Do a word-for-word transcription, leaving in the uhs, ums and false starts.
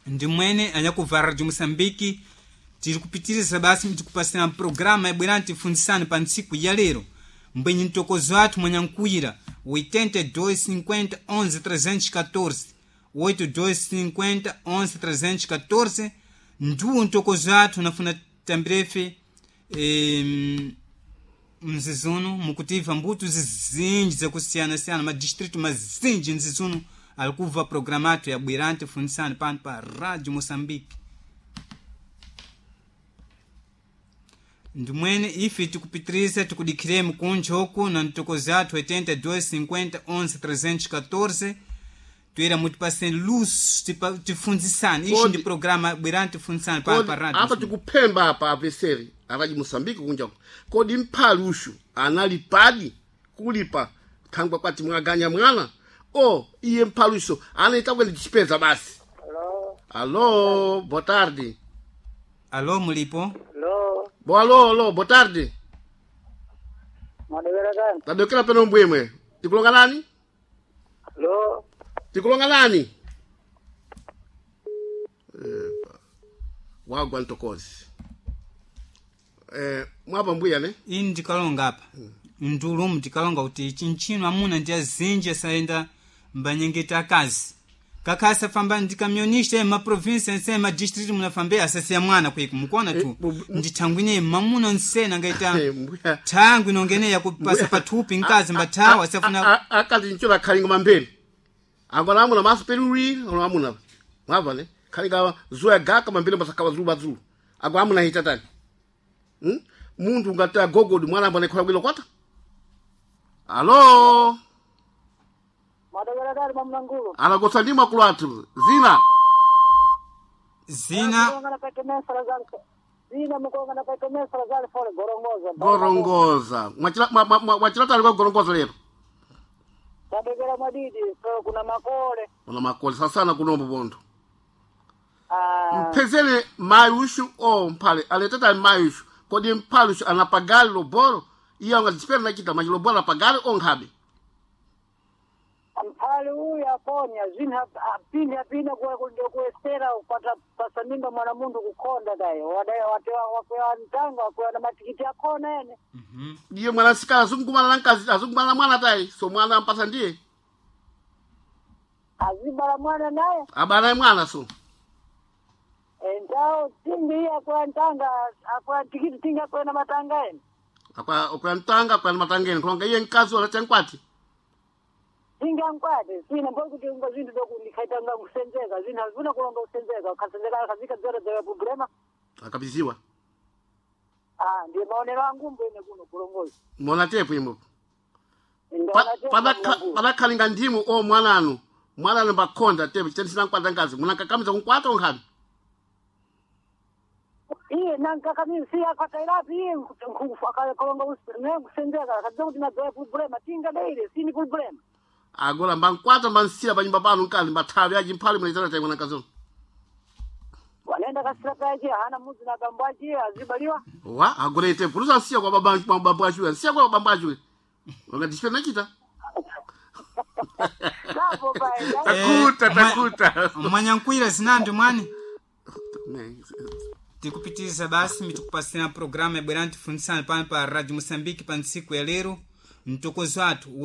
Ndimwene anyakubva Radio Moçambique, tiri kupitiriza basi tikupasira programa yabwerani tifunzisane pa ntsiku ya lero. Mbwenyi mtokozo athu mwanyankuyira oitenta e dois cinquenta onze trezentos e catorze, oitenta e dois cinquenta onze trezentos e catorze ndiwo mtokozo athu. Nafuna tambirefe eh, mzizuno mukutiva mbuto zizinji zakusiyana-siyana, madistrito mazinji mzizuno alikuva programa athu ya Bwirante Fundisani pano pa Radio Moçambique. Ndimwene ife tikupitiriza tikudikiremu kunja uku na mtokozi athu oitenta e dois cinquenta onze trezentos e catorze, toera mutipaseni luso tipa- tifunzisane. Ishi Kodi- ndi programa Bwirani Tifunzisane pano Kodi pa Radio apa Moçambique. Tikuphemba apa apeseri akaji Moçambique kunja kodi mphali ushu analipadi kulipa thangwa kwati mwaganya mwana o iye mphali usho anaita kwene tichipeza basi. Alô, Alô, boa tarde. Alo, mulipo? Alô, Boa, alô, alô, boa tarde. madewera kani? Tadokera peno mbwemwe, tikulonga nani? Alô, Tikulonga nani? Epa, wagwa ntokozi eh, mwapa mbuya ne. Ini ndikalonga apa ndulumu ndikalonga kuti chinchino amuna ndi azinji asayenda mbanyengeta akazi kakha asafamba ndi kamionista maprovinsi ense madistrict munafambe asasiya mwana kwiko mukuona tu. Eh, bu- bu- Ndithangwine mamuna nsena angaita Eh, mbuya. thangwi nongene yakupasa pathupi mkazi mbathawa asafuna. Akati nchola khalinga mambeni angona amuna maso peruri ono amuna mwava ne khalinga zuwa gaka mambeni masakawa zuwa zulu ago amuna hitatani hmm? Munthu ungati agogodi mwana ambone khola bwino kwata. Alo. Madewera kani mamnangulu? Alagosa ndi makulu athu zina. Zina. Mukulongana pa Kemesa Lazaro. Zina mukulongana pa Kemesa Lazaro fole gorongoza. Gorongoza. Mwachila- mwa- mwa- mwa- mwachilatali kwa gorongoza lero. Tadekera mwadidi, so kuna makole. Una makole sasana kunombo bontho. Ah, Mphezele mayi ushu o mphale aletata mayi ushu kodi mphale ushu anapagali lobolo iye angadzipera nachita machi lobolo apagali onkhabe. Mphali uyu aponya zina apini apina kwa ndio kuestera upata pasa mimba mwana mundu kukonda dai. Wadai watewa wakwewa ntanga wakwewa na matikiti akona ene. Iye mwana sikala azungukumana na mkazi azungukumana na mwana tayi so mwana ampasa ndiye. Azibala mwana naye. Abala naye mwana so. Entao tingi iye akwewa ntanga akwewa tikiti tingi akwewa na matanga ene. Akwa akwa mtanga akwa matangeni kulonga iye mkazi walacha nkwati. Tingankwate sina mbokuti unga zinthu zokundikhaitanga kusenzeka zinthu azifuna kulonga kusenzeka ukasenzeka akazika dzora dzora problema. Akabiziwa. Ah, ndiye maonero angu mbwene kuno kulongozi. Mona tepo imopo. Ndaona tepo mamnangulu. Padakhalinga ndimu o mwananu mwananu mbakhonda tepo chitenisina nkwata nkazi munakakamiza kunkwata onkhabe. Iye nankakamizi si akwatairapi iye akalonga kusenzeka akadza kuti nadzora problema tingadeire sini problema. Agora mbankwata mbansira panyumba pano mkazi mbathawi aji mphale munaitana tayi mwanakazi. Wanaenda kasira kaje hana mudzi na bambo aje azibaliwa. Wa agora ite pulusa nsiya kwa baba kwa bambo achuwe nsiya kwa bambo achuwe wakati nachita. Sapo pae. Takuta. Eh, mwa- Takuta. Mwanyankwira zinandi mwani. Ne, Tikupitiriza basi mitikupasira programa yabwerani tifunzisane pano pa Radio Moçambique pa ntsiku ya lero mtokozo athu.